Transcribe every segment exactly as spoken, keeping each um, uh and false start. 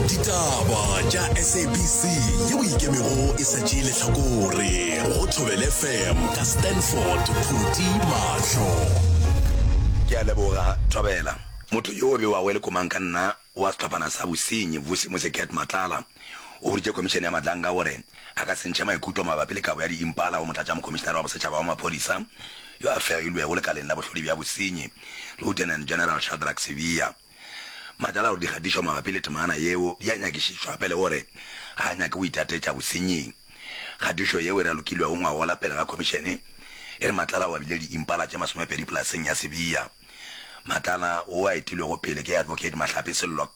Ditaba tša S A B C yeo ikemego e sa tšee lehlakore go Thobela F M ka Stanford Phuti Mahlo. Ke a leboga, Thobela. Motho yo o bewago e le komang ka nna wa sehlophana sa bosenyi, Vusi Musi Cat Matlala, o boditše Khomišene ya Madlanga gore a ka se ntšhe maikutlo mabapi le kabo ya diimpala go Motlatšamokhomišenare wa Bosetšhaba wa Maphodisa yo a fegilwego lekaleng la bohlodi bja bosenyi, Lieutenant General Shadrack Sibiya. Matlala o re dikgatišo mabapi le temana yeo di a nyakišišwa gape le gore ga a nyake go itatetša bosenying. Kgatišo yeo e ralokilwego ngwagola pele ga khomišene e re Matlala o abile diimpala tše masomepedi polaseng ya Sibiya. Matlala, wo a etilwego pele ke Advocate Mahlape Sello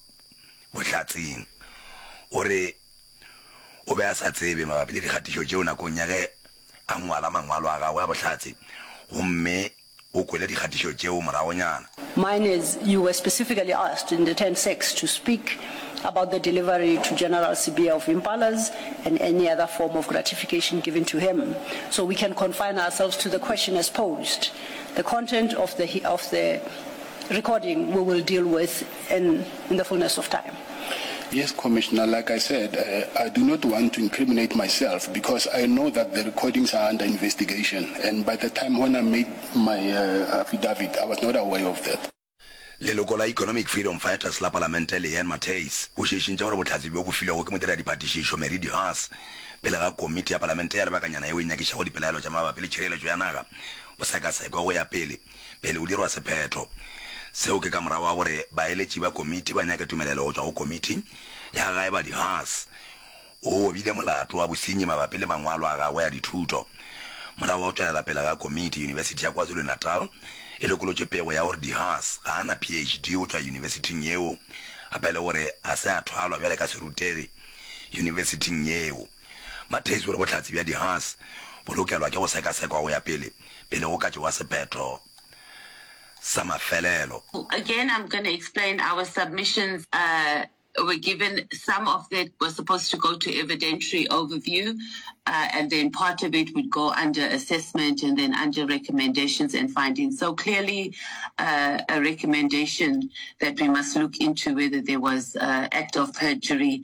bohlatseng, o re o be a sa tsebe mabapi le dikgatišo tšeo nakong ya ge a ngwala mangwalo a gagwe a bohlatse gomme o kwele dikgatišo tšeo moragonyana. Mine is, you were specifically asked in the ten six to speak about the delivery to General Sibiya of impalas and any other form of gratification given to him. So we can confine ourselves to the question as posed. The content of the, of the recording we will deal with in, in the fullness of time. Yes, Commissioner, like I said, uh, I do not want to incriminate myself because I know that the recordings are under investigation. And by the time when I made my uh, affidavit, I was not aware of that. Leloko la Economic Freedom Fighters la Palamente Leanne Matthys o šišintše gore bohlatse bjo bo filwego ke modiradiphatišišo Mary de Haas pele ga komiti ya Palamente ya lebakanyana yeo e nyakišago dipelaelo tša mabapi le tšhireletšo ya naga bo sekasekwe go ya pele pele o dirwa sephetho. Seo ke ka morago ga gore baeletši ba komiti ba nyake tumelelo go tšwa go komiti ya gae ba de Haas o obile molato wa bosenyi mabapi le mangwalo a gagwe a dithuto. Morago ga go tšwelela pele ga komiti, Yunibesithi ya KwaZulu-Natal e lokolotše pego ya gore de Haas ga a na P H D go tšwa yunibesithing yeo, gape le gore ga se a thwalwa bjale ka serutegi yunibesithing yeo. Matthys o re bohlatse bja de Haas bo lokelwa ke go sekasekwa go ya pele pele go ka tšewa sephetho sa mafelelo. Again, I'm going to explain our submissions uh, were given. Some of it was supposed to go to evidentiary overview, uh, and then part of it would go under assessment and then under recommendations and findings. So clearly, uh, a recommendation that we must look into whether there was uh, act of perjury.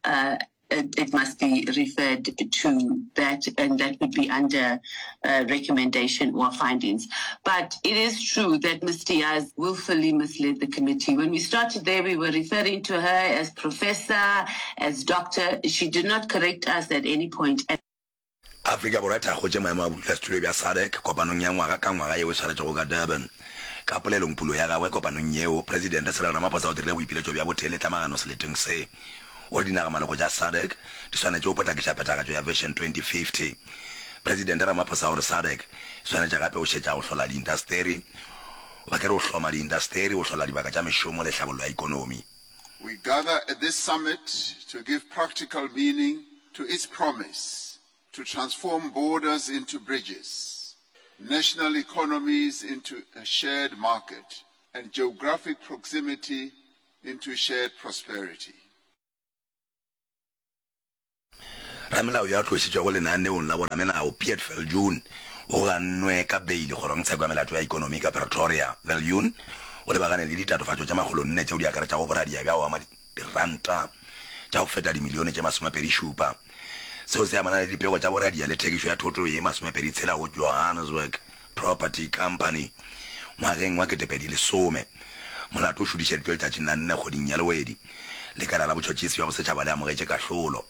Uh, it, it must be referred to that, and that would be under uh, recommendation or findings. But it is true that Miz Diaz willfully misled the committee. When we started there, we were referring to her as professor, as doctor. She did not correct us at any point. Afrika Borwa e thakgotše maemo a bodulasetulo bja SADC kopanong ya ngwaga ka ngwaga yeo e swaretšwego ka Durban. Ka polelongpulo ya gagwe kopanong yeo, Presidente Cyril Ramaphosa o dirile boipiletšo bja botee le tlamagano seleteng se. O re dinagamaloko tša SADC di swanetše go potlakiša phethagatšo ya Vision twenty fifty. Presidente Ramaphosa o re SADC e swanetše gape go šetša go hlola diindasteri, ba ke re go hloma diindasteri, go hlola dibaka tša mešomo le tlhabollo ya ikonomi. We gather at this summit to give practical meaning to its promise to transform borders into bridges, national economies into a shared market, and geographic proximity into shared prosperity. Ramelao yo a tlošitšwego lenaneong la boramelao Piet Viljoen o gannwe ka beile kgorongtsheko ya melato ya ikonomi ka Pretoria. Viljoen o lebagane le ditatofatšo tše makgolonne tšeo di akaretšago boradia bja go ama diranta tša go feta dimilione tše masomepedi šupa. Seo se amana le dipego tša boradia le thekišo ya thoto ye masomepedi tshela go Johannesburg Property Company ngwageng wa ketepedi lesome. Molato o šutišeditšwe letšatšing la nne kgweding ya Lewedi. Lekala la botšhotšhisi bja bosetšhaba le amogetše kahlolo.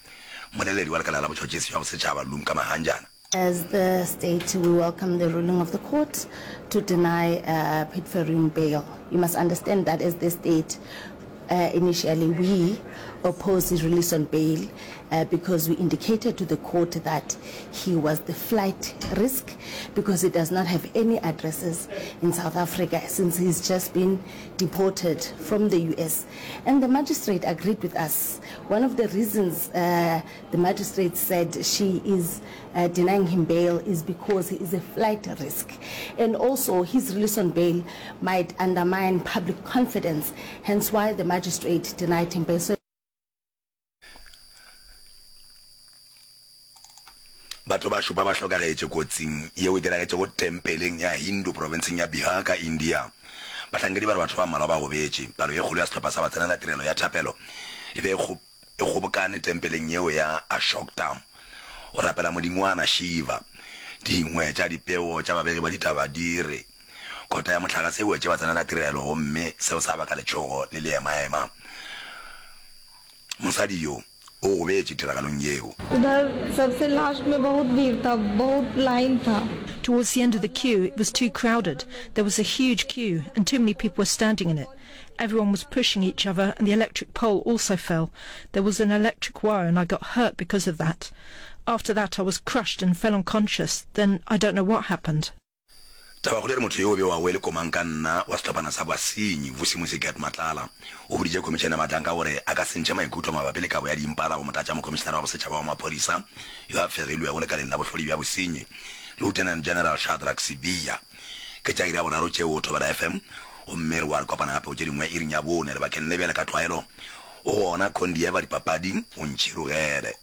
Mmoleledi wa lekala la botšhotšhisi bja bosetšhaba Lumka Mahanjana. As the state, we welcome the ruling of the court to deny uh, Piet Viljoen bail. You must understand that as the state, uh, initially we opposed his release on bail uh, because we indicated to the court that he was the flight risk because he does not have any addresses in South Africa since he's just been deported from the U S. And the magistrate agreed with us. One of the reasons uh, the magistrate said she is uh, denying him bail is because he is a flight risk. And also his release on bail might undermine public confidence, hence why the magistrate denied him bail. So Batho ba šupa ba hlokagetše kotsing yeo e diragetšego tempeleng ya Hindu profenseng ya Bihar ka India. Bahlankedi ba re batho ba mmalwa ba gobetše. Palo ye kgolo ya sehlopha sa batsenela tirelo ya thapelo e be e kgobokane tempeleng yeo ya Ashokdam go rapela modingwana Shiva. Dingwe tša dipego tša babegi ba ditaba di re kota ya mohlagase e wetše batsenelatirelo gomme seo sa baka letšhogo le leemaema. Mosadi yo o gobetše tiragalong yeo. Udhar sabse last mein bahut bheed tha, bahut line tha. Towards the end of the queue, it was too crowded. There was a huge queue and too many people were standing in it. Everyone was pushing each other and the electric pole also fell. There was an electric wire and I got hurt because of that. After that I was crushed and fell unconscious. Then I don't know what happened. Tabakgolo e re motho yo o bewago e le komangkanna wa sehlophana sa basenyi, Vusimusi Cat Matlala, o boditše Khomišene ya Matlanka gore a ka se ntšhe maikutlo mabapi le kabo ya diimpala go Motlatšamokhomišenare wa Bosetšhaba wa Maphodisa yo a fegilwego lekaleng la bohlodi bja bosenyi, Lieutenant General Shadrack Sibiya. Ke tša iri ya boraro tšeo, Thobela F M, gomme re boa re kopana gape go tše dingwe iring ya bone. Lebakeng le bjale ka tlwaelo o gona Condieva dipapading, o ntšhirogele.